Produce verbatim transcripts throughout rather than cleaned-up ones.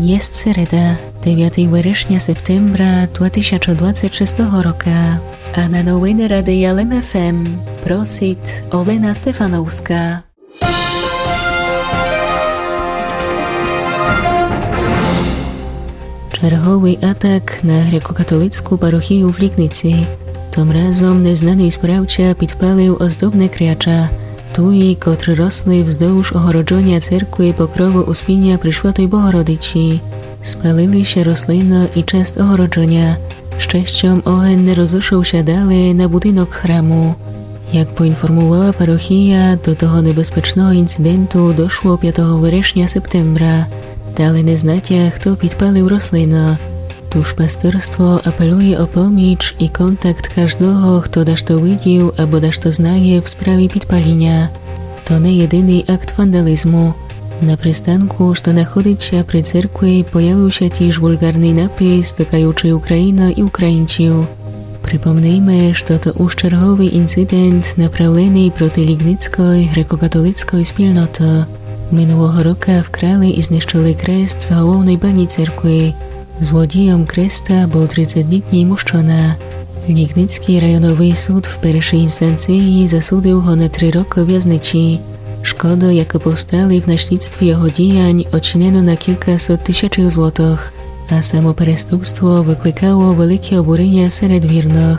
Єст середа, девятый верешня септембра два тисячы двадцет шестого рока. А на новины Радия Лем ФМ просит Олена Стефановска. Черговый атак на грекокатолицку парохию в Лигниці. Тым разом незнаный спраўца підпалив оздобны кряча, туї, котры росли вздовж огороджоня церкви Покровы Успіня Пресвятой Богородици. Спалили ся рослины і част огороджоня. Щестьом, оген не розышов ся дале на будинок храму. Як поінформувала парохия, до того небезпечного інциденту дошло пятого верешня септембра. Дале не знатя, хто підпалив рослины. Тож пастырство апелує о поміч і контакт каждого, хто дашто видів або дашто знає в справі підпаліня. То не єдиный акт вандализму. На пристанку, што находить ся при церкви, появив ся тіж вульґарный напис, докаючый Україну і українців. Припомнийме, што то уж черговый інцидент, направленый проти лигницькой грекокатолицькой спільноты. Минулого рока вкрали і знищили крест з головной бані церкви. Злодієм креста быв тридцятилітній мужчына. Лигницькій районовый суд в першій інстанциї засудив го на три рокы вязничі. Шкоды, якы повстали в наслідстві його діянь, оцінено на кількасот тисячів злотых, а само переступство выкликало велике обуріня серед вірных.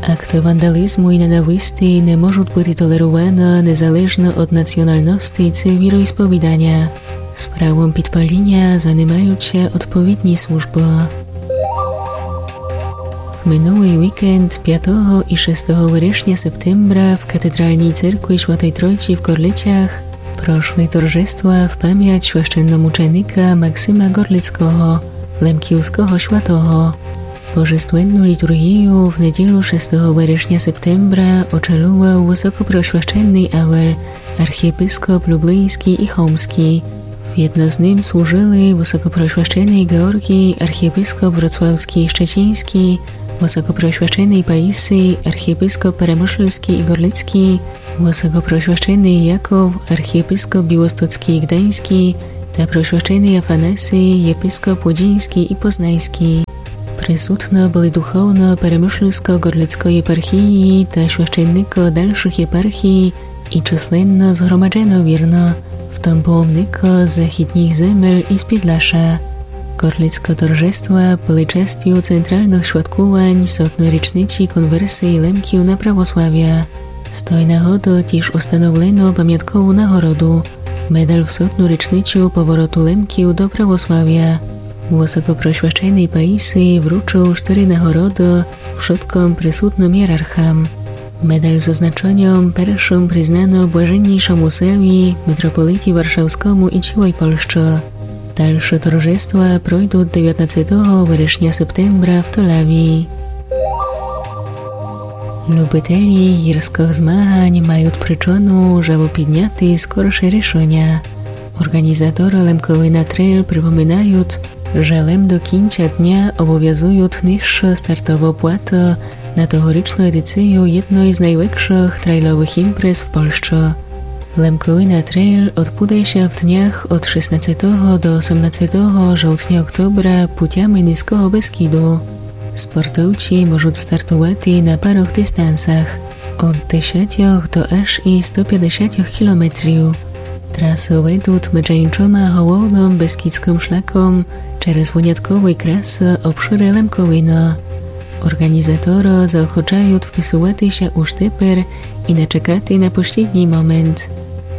Акты вандализму і ненависти не можуть быти толеруваны незалежно од націоналности ци віроісповіданя. Справом підпаліня занимають ся одповідні службы. В минулый вікенд пятого і шестого верешня септембра в катедральній церкви Святой Тройці в Горлицях прошли торжества в память священномученика Максима Горлицького, лемківского святого. Божественну літургію в неділю шестого верешня септембра очолював высокопросвященный Авель, архієпископ Люблинськый і Хомскый. Вєдно з ним служили высокопросвященный Георгій, архієпископ вроцлавскый і щецінскый, высокопросвященный Паїсій, архієпископ перемышльскый і горлицькый, высокопросвященный Яков, архієпископ білостоцкый і гданьскый, та просвященный Афанасій, єпископ удіньскый і познаньскый. Присутны были духовно перемышльско-горлицькой єпархії та священникы дальшых єпархій, і чысленно згромаджено вірны, в тым было мникы з західніх земель і з Підляша. Горлицкы торжества были частю центральных святкувань сотной річниці конверсії лемків на православя. З той нагоды тіж установлено памяткову нагороду, медаль в сотну річницю повороту лемків до православя. Высокопросвященный Паїсій вручыл штыри нагороды вшыткым присутным єрархам. Медаль з означеньом першым признано блаженнішому Саві, митрополиті Варшавскому і цілой Польщы. Дальше торжества пройдуть девятнадцятого верешня септембра в Толавії. Любителі гірскых змагань мають причину, жебы підняти скорше рішеня. Орґанізаторы Лемковина Трейл припоминають, же лем до кінця дня обовязують нижшы стартовы платы на тогорічну едицию єдной з найвекшых трейловых імпрез в Польщы. Лемковина Трейл одбуде ся в днях од шестнадцятого до осемнадцятого жовтня-октобра путями Низького Бескіду. Спортовці можуть стартувати на парох дистансах од десятьох до аж і сто пятдесятьох кілометрів. Трасу ведуть меджи іншыма головным бескідскым шляком через вынятковой красы обшыры Лемковины. Орґанізаторы заохочають вписувати ся уж тепер і не чекати на послідній момент.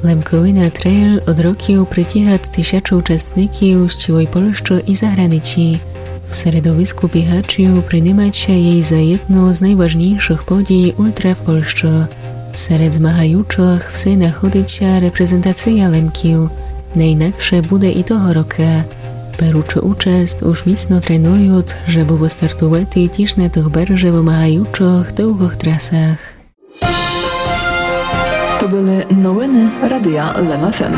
Лемковина Трейл од років притігат тисячы участників з цілой Польщы і заграниці. В середовиску бігачів принимать ся єй за єдну з найважнішых подій ультра в Польщы. Серед змагаючых все находить ся репрезентация Лемків. Не інакше буде і того рока. Беручы участь, уж міцно тренують, жебы выстартувати тіж на тых барже вымагаючых довгых трасах. То были новины Радия Лем ФМ.